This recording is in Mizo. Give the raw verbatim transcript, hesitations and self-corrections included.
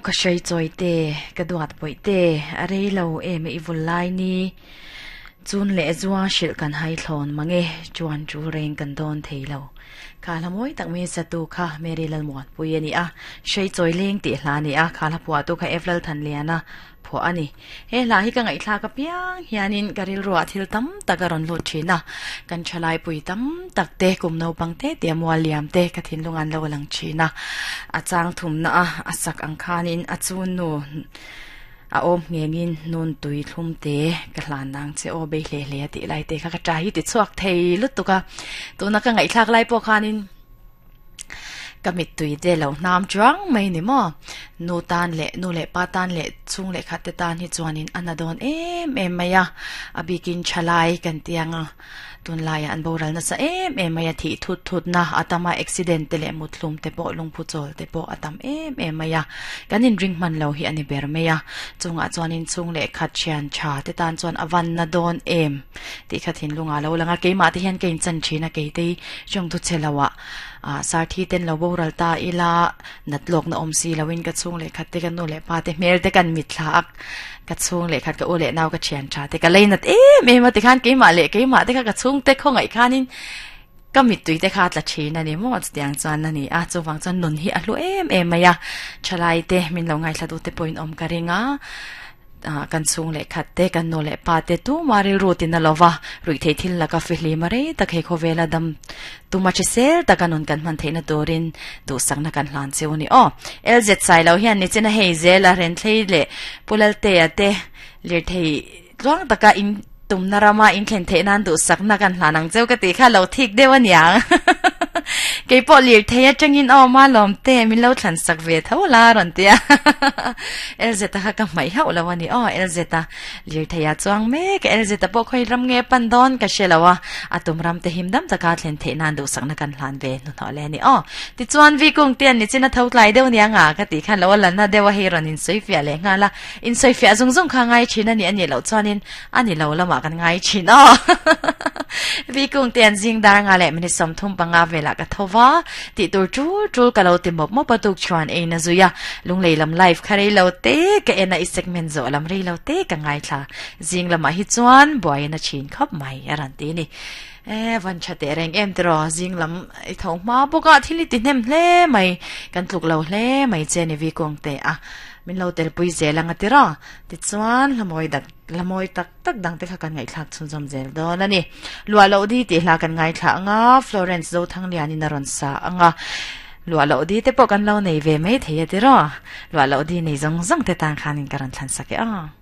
Ka sei choi te ka duat poi te a rei lo em i vul lai ni chun le zuwa shil kan hai thlon mange chuan chu reng kan don thei lo kha la moi tak mi satu kha Mary lal muan pui ani a sei choi leng ti hla ni a kha la puwa tu kha Evlal than liana pho ani he hla hi ka ngai thla ka piang hianin karil ro thil tam takaron lu thina kan thalai pui tam tak te kum no pang te te mual liam te ka thin lungan lo lang thina achang thum na a asak ang khanin achun nu a om ngengin nun tui thlum te ka hlan nang che o be hle hle ti lai te kha ka trai ti chuak thei lutuka tuna ka ngai thlak lai po khanin kamit tui te lo nam chuang mai ni mo nu tan le nu le pa tan le chung le khat te tan hi chuanin anadon em em maya abikin chalai kan tianga tun lai an boral na sa em em maya thi thut thut na atama accident te le muthlum te po lungphu chol te po atam em em maya kanin ring man lo hi ani ber meya chunga chuanin chung le khat chian cha te tan chuan awan na don em ti khathin lunga lo langa keima te hian kein chan thina keite chong tu chelawa a sar thi ten lo boral ta ila natlok na om si lawin ka chung le khat te kan nu le pa te mel te kan mit thlak ka chung le khat ka u le naw ka thian tha te ka leinat em em te khan keima le keima te kha ka chung te khongai khanin ka mit tui te kha tla thina ni mo tiang chuan ani a chuwang chuan nun hi a hlu em em maya thalai te min lo ngai thla du te point om ka ringa kan chung le khat te kan no le pa te tu mari rutin lova rui thei thil laka fihli mare tak he khovela dam tu ma che sel takanun kan man theina torin du sakna kan hlan cheu ni o lz sai lo hian ni chena hei zela ren thlei le pulal te ate lir thei tluang taka in tum narama in thlen the nan du sakna kan hlanang cheu ka ti kha lo thik dewa niang ke po lir theya changin o ma lom te min lo thlan sak ve tho la ron tia lz ta kha ka mai hau lawani o lz ta lir theya chuang me ka lz ta po khoi ram nge pan don ka shelawa atum ram te him dam taka thlen the nan du sakna kan hlan ve nu tho le ni o ti chuan vi kung tian ni china tho tlai deuh nianga ka ti khan lo lan na dewa he ron in soi fia le nga la in soi fia zung zung kha ngai china ni ani lo chuanin ani lo lama kan ngai chin o vi kung tian jing dar nga le mini som thum panga vela ka thowa ti tur chu chu ka lo ti mop mop patuk chuan e na zuya lunglei lam live kharei lo te ka ena i segment zo lam rei lo te ka ngai thla jing lama hi chuan boy na chin khop mai aran ti ni e van chate reng em tro jing lam i tho ma boka thili ti hnem hle mai kan tluk lo hle mai che ni vi kong te a min lo tel pui zelanga tira ti chuan lamoi dak lamoi tak tak dang te kha kan ngai thlak chun zom zel don ani lua lo di ti hla kan ngai thla anga Florence zo thang lian in aron sa anga lua lo di te po kan lo nei ve mai theia tira lua lo di nei zong zong te tang khanin karan thlan sake a.